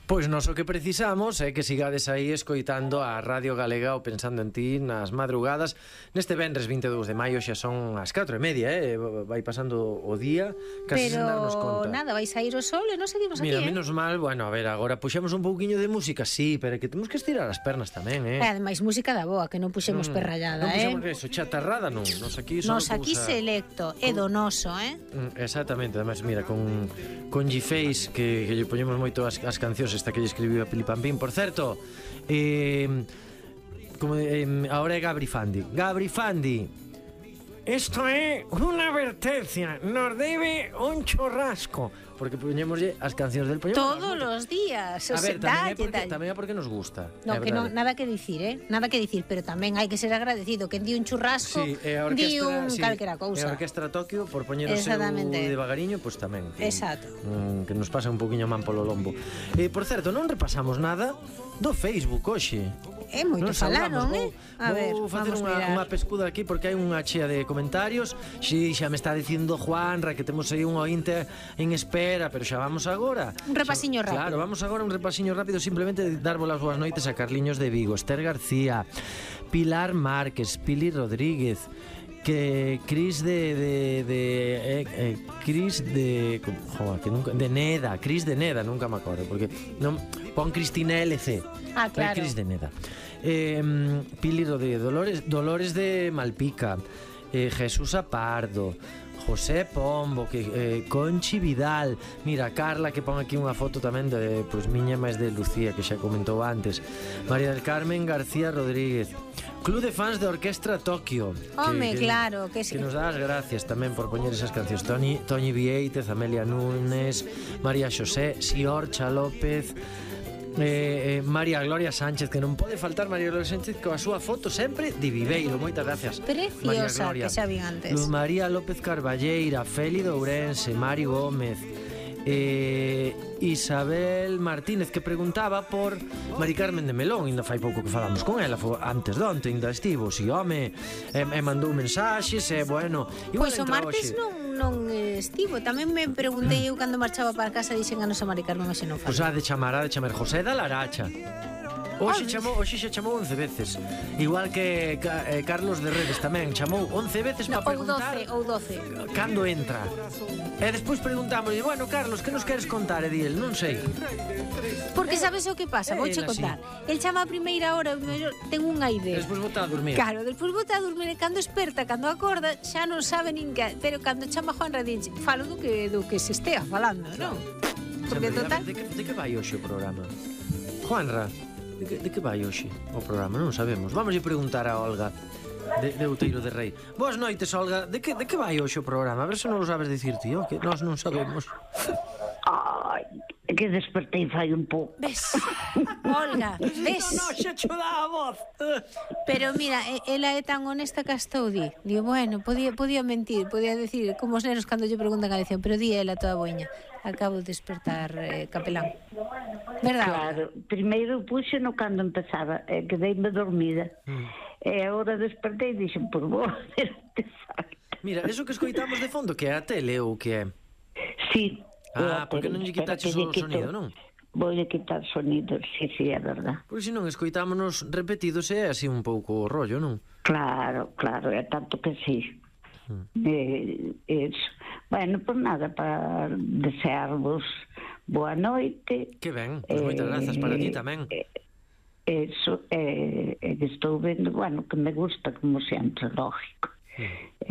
Pois nós o que precisamos é que sigades aí escoitando a Radio Galega ou Pensando en Ti nas madrugadas. Neste venres 22 de maio xa son as 4:30, vai pasando o día casi sen darnos conta. Pero nada, vai sair o sol e non seguimos aquí, Mira, menos mal, bueno, a ver, agora puxemos un pouquiño de música, sí, pero é que temos que estirar as pernas tamén, E ademais música da boa, que non puxemos perrallada, Non puxemos eso, chatarrada non. Nos aquí selecto, é donoso, Exactamente, ademais, mira, con G-Face que lle poñemos moito as cancións esta que lle escribiu a Pilipampín. Por certo, ahora é Gabri Fandi, isto é unha advertencia, nos debe un chorrasco, porque poñémoslle as cancións del Poñón todos os días. A ver, tamén é porque nos gusta. No, que non, nada que dicir, nada que dicir, pero tamén hai que ser agradecido. Que di un churrasco, di un calquera cousa. E a Orquestra Tokio, por poñer o seu devagariño, pois tamén. Exacto. Que nos pasa un poquinho man polo lombo. Por certo, non repasamos nada do Facebook hoxe. É moito falaron, A ver, vou facer unha pescuda aquí porque hai unha chea de comentarios. Si, xa me está dicindo Juanra que temos aí un ointe en espera, pero xa vamos agora. Un repasiño rápido. Claro, vamos agora un repasiño rápido, simplemente darvos as boas noites a Carliños de Vigo, Esther García, Pilar Márquez, Pili Rodríguez, que Cris de Neda, nunca me acordo porque non pon Cristina LC. Claro. Cris de Neda. Pili Rodríguez, Dolores de Malpica, Jesús Apardo, José Pombo, Conchi Vidal, mira, Carla que pon aquí unha foto tamén de miña máis de Lucía que xa comentou antes, María del Carmen García Rodríguez, Club de fans de Orquestra Tokio. Claro, que nos dá as gracias tamén por poñer esas cancións. Toñi Vieitez, Amelia Núñez, María Xosé, Siorcha López, María Gloria Sánchez, que non pode faltar María Gloria Sánchez coa súa foto sempre de Viveiro. Moitas gracias, preciosa, que xa vi antes. María López Carballeira, Feli de Ourense, Mari Gómez, Isabel Martínez, que preguntaba por Mari Carmen de Melón. Ainda fai pouco que falamos con ela, antes de onte ainda estivo, si home, e mandou mensaxes, bueno, pois o martes non estivo. Tamén me preguntei eu cando marchaba para casa, dixen a nosa Mari Carmen, hoxe non fala. Pois ha de chamar José da Laracha. Hoxe xa chamou 11 veces. Igual que Carlos de Redes tamén chamou 11 veces para preguntar ou 12 cando entra. E despois preguntámoslle, bueno, Carlos, que nos queres contar? E di el, non sei. Porque sabes o que pasa? Vouche contar. El chama a primeira hora, ten unha idea. Despois bota a dormir. Claro, despois bota a dormir e cando esperta, cando acorda, xa non sabe nin que. Pero cando chama Juanra dinche, falo do que se estea falando, non? Porque total... De que vai hoxe o programa? Juanra, de que vai hoxe o programa? Non sabemos. Vamos a preguntar a Olga de Outeiro de Rei. Boas noites, Olga. De que vai hoxe o programa? A ver se non o sabes dicir, tío, que nós non sabemos. Ai, que despertei fai un pouco. Ves? Olga, ves? Non, xa cho dá a voz. Pero mira, ela é tan honesta que hasta o di. Digo, bueno, podía mentir, podía decir, como os nenos cando lle preguntan a lección, pero di ela toda boiña. Acabo de despertar, capelán. Verdad? Claro, primeiro puxe no cando empezaba, quedeime dormida. E agora despertei e dixen, por vos, Mira, eso que escoitamos de fondo, que é a tele ou que é? Sí. Porque non lle quitaches o sonido, non? Voulle quitar sonido, sí, é verdad. Porque senón escoitámonos repetidos e é así un pouco o rollo, non? Claro, é tanto que sí. Eso. Bueno, por nada, para desearvos boa noite. Que ben, pois moitas grazas para ti tamén. Eso, que estou vendo, bueno, que me gusta como sempre, lógico.